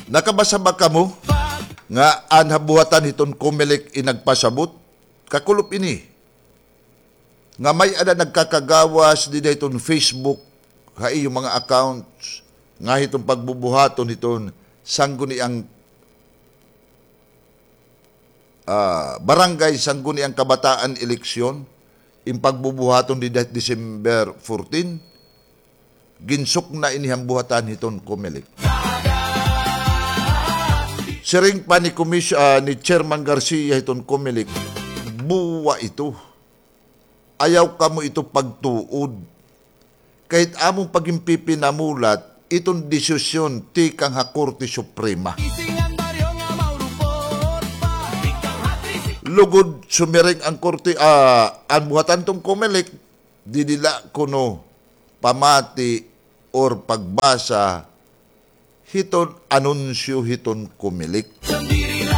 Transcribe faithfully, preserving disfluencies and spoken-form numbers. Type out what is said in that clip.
Nakabasa ba kamo nga an habuhatan hiton Comelec in nagpasabot? Kakulop ini nga may-ada nagkakagawas dida hiton Facebook ha iyo mga accounts nga hiton pagbubuhaton hiton sangguniang, ah, barangay, sangguniang kabataan eleksyon, in pagbubuhaton dida December fourteen. Ginsukna ini han buhatan hiton Comelec. Siring pa ni Komis-, ah, ni Chairman Garcia hiton Comelec, buwa ito. Ayaw kamo ito pagtuod. Kahit amon pagin pipinamulat, iton desisyon tikang ha Korte Suprema. Lugod sumiring an korte, ah, an buhatan hiton Comelec, didi la kuno pamati or pagbasa hiton anunsyo hiton Comelec.